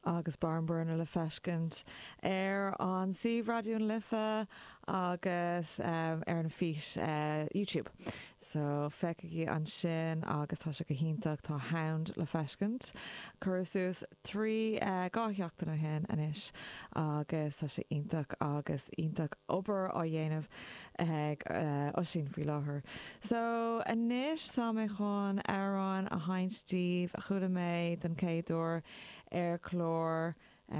Agus Barnburner le feiscint ar an suíomh Raidió na Life agus ar an fís YouTube. So feicigí ansin agus tá sé go hiontach, tá Hound le feiscint. Cuireadh suas 3, 2 sheachtain ó shin anois agus tá sé iontach agus iontach obair á dhéanamh ag Oisín faoi láthair. So anois tá mé chun amhrán a sheinnt daoibh a chuala mé don chéad uair ar chlár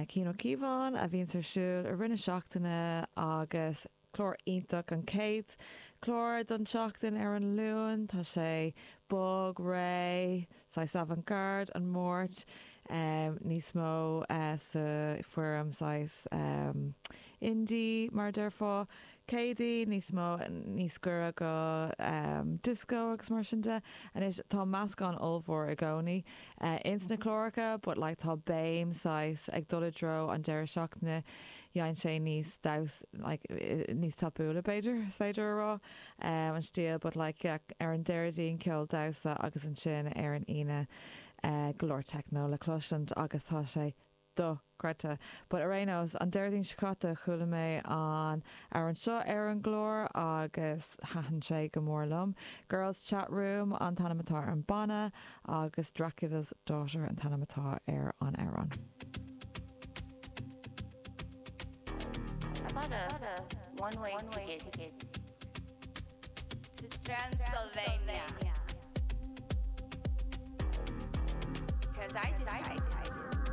Cian Ó Cíobháin a bhíonns ar siúl i rith na seachtaine agus clár iontach, an chéad chlár don tseachtain ar an Luan. Tá sé bog, réidh, saghas avant-garde an Máirt, níos mó sa foirm saghas indie mar a déarfá. Céadaoin, níos mó, níos gaire go disco agus mar sin de. Anois tá meascán ollmhór i gcónaí ins na cláracha but like tá béim saghas ag dul i dtreo an deireadh seachtaine, dhein sé níos damhsa like níos tapúla b'fhéidir, is féidir a rá, an stíl but like yeah ar an Déardaoin ceol damhsa agus ansin ar an Aoine go leor techno le cloisint agus tá sé dochreidte. But ar aon nós, an Déardaoin seo caite chuala mé an amhrán seo ar an gclár agus thaitin sé go mór liom. Girls Chat Room an t-ainm atá ar an banna agus Dracula's Daughter an t-ainm atá ar an amhrán. I bought a one-way ticket to Transylvania. Cause I decided.